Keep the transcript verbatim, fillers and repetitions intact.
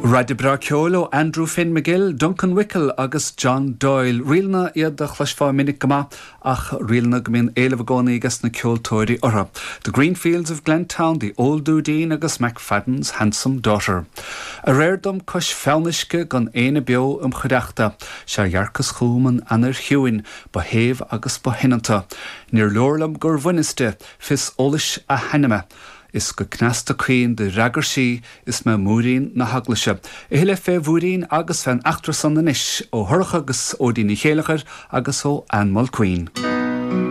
Raidió breá ceoil ó Andrew Finn McGill, Duncan Wickel agus John Doyle. Ríleanna iad a chloisfeá minic go maith ach ríleanna go mbíonn éileamh i gcónaí ag na ceoltóirí orthu. The Green Fields of Glentown, The Old Dudeen agus McFadden's Handsome Daughter. Aréir dom cois fionnuisce gan éinne beo im chuideachta, sé dhearcas chugam an anair chiúin, ba shéimh agus ba shoineanta. Níor leor liom gur bhaineas di fios eolais a hainme. Is go cneasta caoin do fhreagair sí is mé múirín na heaglaise. A thuilleadh fé mhúirín agus fén eachtra san anois ó Shorcha agus ó Ní Chéileachair agus ó Anne Mulqueen.